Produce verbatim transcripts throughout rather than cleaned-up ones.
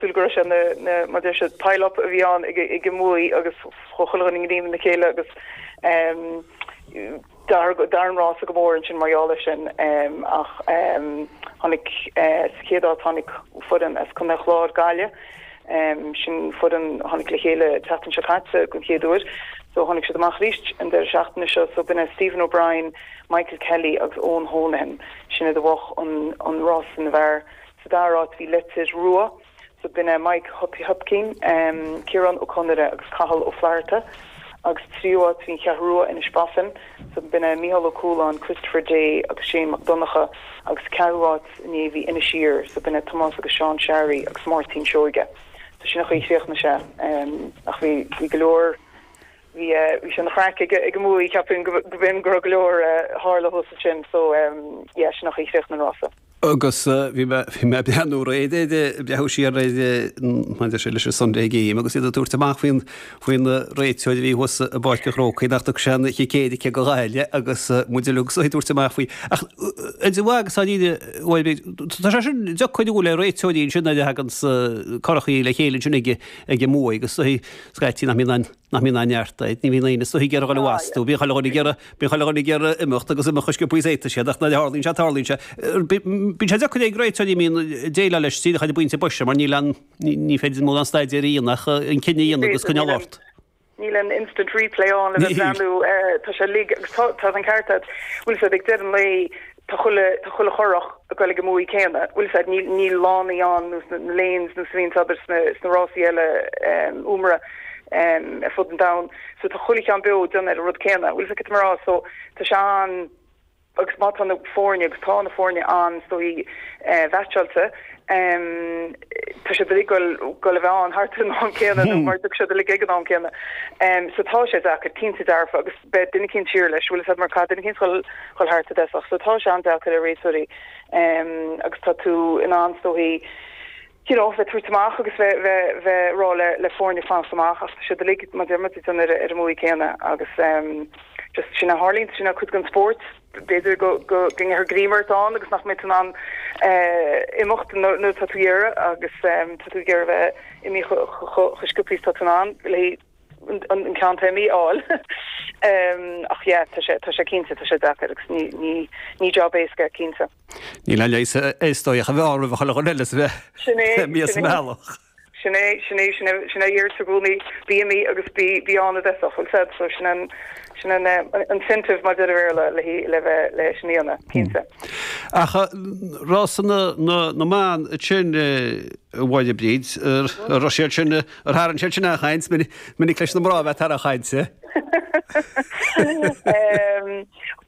Cosúil go raibh sé na na mar deir siad pile up a bhí ann ag ag an mbuaidh agus chuaigh chuile dhuine i ngreim na chéile agus um, d'athraigh an rása go mór ansin mar gheall air sin um, ach um, tháinig uh, sa chéad áit tháinig foireann as Contae an Chláir Gaillimh um, sin foireann tháinig le chéile tseachtain seo caite den chéad uair so tháinig siad amach arís an deireadh seachtaine seo so b'in é Stephen O'Brien Michael Kelly agus Owen Honahan sin a bhuaigh an an rás na bhfear sa dara háit bhí Leitir Rua so b'in é Mike Hopkin um, Ciarán Ó Conaire agus Cathal Ó Flatharta agus tríú háit bhí Cheathrú Rua Inis Bofin so b'in é Micheál Ó Cualáin Christopher Day agus Shane Mac Donncha agus ceathrú háit inné bhí Inis Oírr so b'in é Tomás agus Seán Sherry agus Máirtín Seoige so sin an chaoi chríochnaigh sé um, ach bhí bhí go leor bhí bhí sin craic ag ag mú ceapaim go bhín go go leor tharla thuas sin so um, yeah, sin an chaoi chríochnaigh an rása. Agus bhí bhí mé breathnú réide breathnú siar réide sé leis an Sunday Game agus iad ag tabhairt amach faoin faoin réiteoir a bhí thuas i bPáirc an Chrócaigh nach dtug sé an chicéide go Gaillimh agus muid uilig ag tabhairt amach faoi. Ach idir mhaith agus tá sé sin deacair le réiteoirí sin a thagann curachaí le chéile sin ag ag an mbuaidh agus scaití nach mbíonn nach mbíonn an neart, ní bhíonn aon so ag iarraidh astu, bíonn chuile dhuine ag iarraidh bíonn chuile dhuine ag iarraidh imeacht agus imeacht chomh sciobtha is a fhéadfas siad ach nuair a tharlaíonn sé tarlaíonn sé. Bíonn sé deacair ag réiteoirí mín déileáil leis tí chu buinte buise mar níl an ní féidir mórán staidéir a dhéanamh an cinneadh a dhéanamh agus coinneáil ort. Níl an instant replay ann le bheith tá sé lig agus tá an ceart bhfuil sé ag deireadh an lae tá chuile tá chuile churach ag goil ag an mbuaidh céanna bhfuil sé níl níl lánaí ann nó na lanes nó svín abair sna sna rásaí eile um, umra um, ar fud an domhain so tá chuile cheann beo déanamh ar an rud céanna bhfuil sé mar so tá sé an agus má tá na foirne agus tá na foirne an stoí eh, mheaitseáilte um, tá sé go go le bheith an thart an am céanna nó mar sé le ag an am céanna. Um, so tá sé deacair cinnte dearfa agus beidh duine éicint siar leis bhfuil mar cad duine éicint chun thart desach, so tá sé an-deacair ar réiteoirí um, agus tá tú in ann stoí you know, bheith tabhairt amach agus bheith bheith bheith rá le le foirne fanacht amach ach sé lig mar an ar ar an mbuaidh céanna agus um, just sin a tharlaíonn sin a cuid den spórt b'fhéidir go go ngearrfar greim ort ann agus nach mbeidh an imeacht nó tá tú iarraidh agus tá tú ag bheith imithe chomh sciobtha tá an le an ceann taimí áil. ach yeah, tá sé tá sé cinnte tá sé deacair agus ní ní ní job éasca cinnte. Níl an leis éistóich a bheith a chuile eile bheith mí meallach. Sin é sin é sin é iar gúnaí bí mí agus bí bí anna bheith said so sin an sin an incentive mar deir le le le bheith le sin cinnte. Ach rás na na na mban sin bhaile bríd ar siad sin ar tharraing siad sin a chaint minic leis na mná bheith tar a chainte.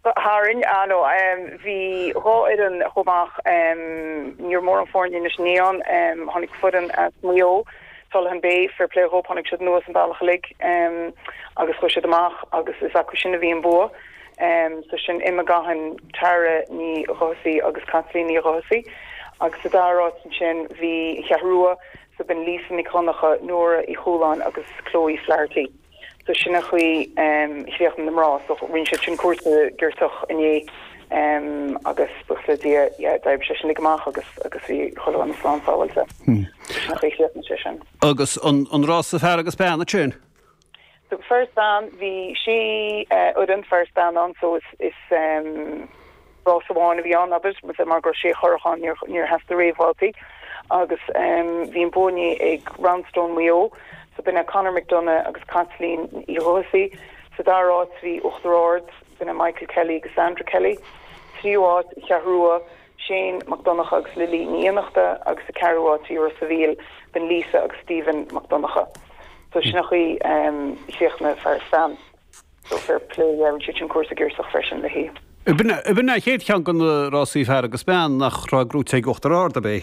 Tharraing anó bhí dhá fhoireann chomh maith níor mór an foirne is níon tháinig foireann as Maigh Eo Tullahan Bay fair play dhóibh tháinig siad anuas an bealach uilig agus chuaigh siad amach agus is acu sin a bhí an bua. Um, so sin Emma Gahan Tara Ní Dhubhthaigh agus Kathleen Ní Dhubhthaigh agus sa dara háit sin bhí Cheathrú Rua so b'in Lisa Nic Dhonncha Nóra Uí Chualáin agus Chloe Flaherty. So sin an chaoi um, chríochnaigh na mná so rinne siad sin cúrsa giortach inné um, agus buíochas le Dia yeah, d'oibrigh sé sin lig amach agus agus bhí chuile dhuine slán sábháilte. Hmm. sé sin. Agus an, an rása fear agus bean sin? So fear is bean bhí sé fhoireann fear is bean ann so is is um, rás amháin a bhí ann abair mar gur sé churach ann níor níor theastaigh réamhbhabhtaí agus um, bhí an bua ag Roundstone Maigh Eo so b'in é Conor McDonough agus Kathleen Uí Dhubhthaigh sa dara háit bhí Uachtar Ard b'in é Michael Kelly agus Sandra Kelly tríú háit Cheathrú Rua Shane McDonough agus Lily Ní Fhiannachta agus sa ceathrú háit bhí Ros an Mhíl b'in Lisa agus Stephen McDonough. So sin an chaoi um, chríochnaigh fear is bean. So fair play yeah, sé sin cúrsa giortach freisin le hí. B'in é chéad cheann de na rásaí fear agus bean nach raibh gnóthaithe ag Uachtar Ard ab ea.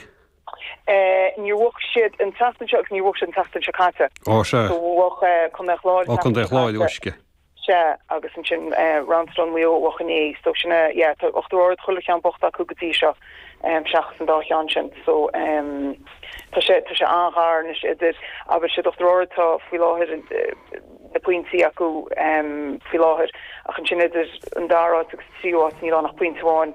Uh, níor bhuaigh siad an tseachtain seo agus níor bhuaigh siad an tseachtain seo caite. Ó sé. So bhuaigh Contae an Chláir Ó Contae an Chláir uisce. Se agus ansin uh, Roundstone Maigh Eo a bhuaigh inné so sin yeah, tá Uachtar Ard chuile cheann buaite acu go dtí seo um, seachas an dá cheann sin so um, tá sé tá sé an-ghar anois idir abair siad Uachtar Ard tá faoi láthair uh, na pointí acu um, faoi láthair ach ansin idir an dara háit agus tríú háit níl ann ach pointe amháin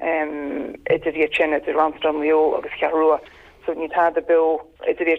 um, idir iad sin idir Roundstone Maigh Eo agus Cheathrú Rua. So níl tada beo idir iad.